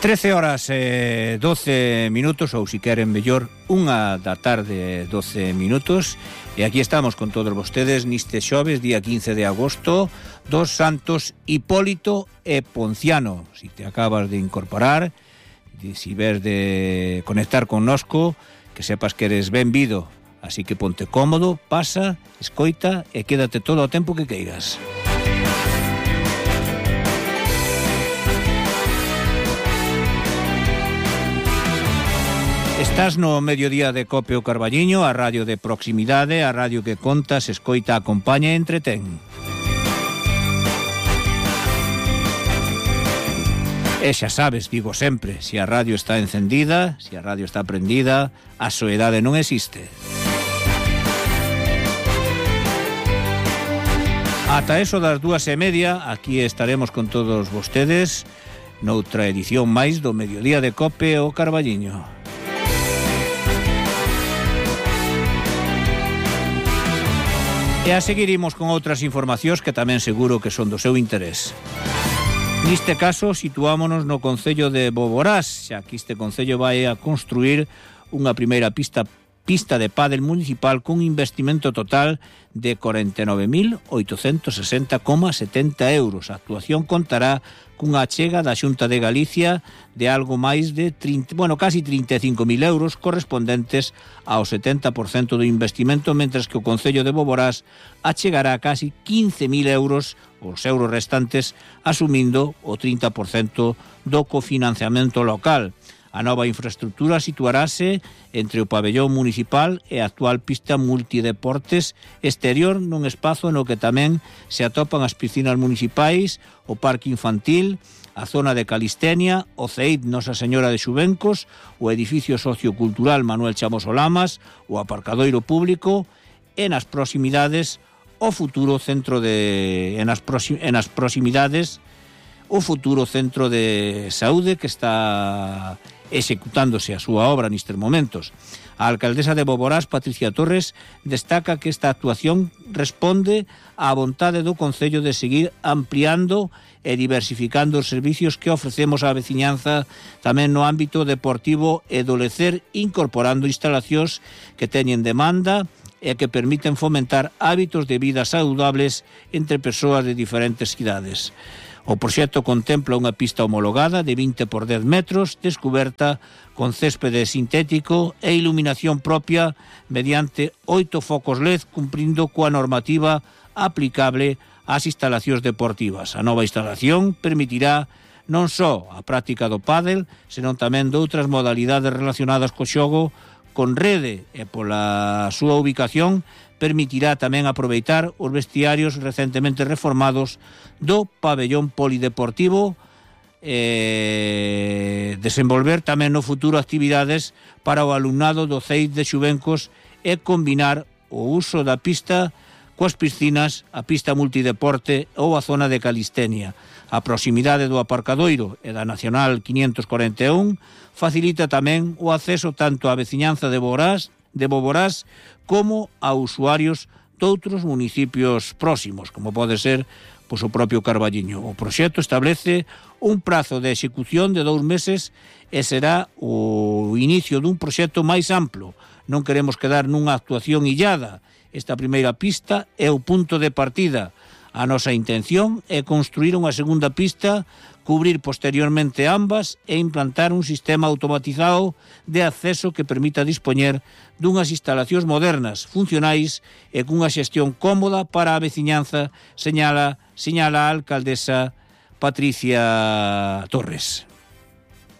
13 horas e 12 minutos, ou si queren mellor, 1 da tarde 12 minutos, e aquí estamos con todos vostedes niste xoves, día 15 de agosto, dos santos Hipólito e Ponciano. Si te acabas de incorporar, si ves de conectar connosco, que sepas que eres benvido, así que ponte cómodo, pasa, escoita e quédate todo o tempo que queiras. Estás no mediodía de Cope o Carballiño, a radio de proximidade, a radio que conta, se escoita, acompaña e entretén. E xa sabes, digo sempre, se a radio está encendida, se a radio está prendida, a soedade non existe. Ata eso das 2:30, aquí estaremos con todos vostedes noutra edición máis do mediodía de Cope o Carballiño. E a seguiremos con outras informacións que tamén seguro que son do seu interés. Neste caso, situámonos no concello de Boborás, xa que este concello vai a construir unha primeira pista de pádel municipal cun investimento total de 49.860,70 euros. A actuación contará cunha achega da Xunta de Galicia de algo máis de casi 35.000 euros correspondentes ao 70% do investimento, mentres que o concello de Boborás achegará casi 15.000 euros, os euros restantes, asumindo o 30% do cofinanciamento local. A nova infraestructura situarase entre o pabellón municipal e a actual pista multideportes exterior nun espazo no que tamén se atopan as piscinas municipais, o parque infantil, a zona de calistenia, o CEID Nosa Señora de Xuvencos, o edificio sociocultural Manuel Chamos Olamas, o aparcadoiro público e nas proximidades o futuro centro de o futuro centro de saúde que está executándose a súa obra nestes momentos. A alcaldesa de Boborás, Patricia Torres, destaca que esta actuación responde á vontade do concello de seguir ampliando e diversificando os servicios que ofrecemos á veciñanza tamén no ámbito deportivo e do lecer, incorporando instalacións que teñen demanda e que permiten fomentar hábitos de vida saludables entre persoas de diferentes idades. O proxecto contempla unha pista homologada de 20 por 10 metros, descuberta con céspede sintético e iluminación propia mediante 8 focos LED, cumprindo coa normativa aplicable ás instalacións deportivas. A nova instalación permitirá non só a práctica do pádel, senón tamén de outras modalidades relacionadas co xogo con rede, e pola súa ubicación permitirá tamén aproveitar os vestiarios recentemente reformados do pabellón polideportivo, desenvolver tamén no futuro actividades para o alumnado do CEID de Xuvencos e combinar o uso da pista coas piscinas, a pista multideporte ou a zona de calistenia. A proximidade do aparcadoiro e da Nacional 541 facilita tamén o acceso tanto á veciñanza de Boborás como a usuarios doutros municipios próximos, como pode ser o propio Carballiño. O proxecto establece un prazo de execución de 2 meses e será o inicio dun proxecto máis amplo. Non queremos quedar nunha actuación illada. Esta primeira pista é o punto de partida. A nosa intención é construir unha segunda pista, cubrir posteriormente ambas e implantar un sistema automatizado de acceso que permita dispoñer dunhas instalacións modernas, funcionais e cunha xestión cómoda para a veciñanza, señala a alcaldesa Patricia Torres.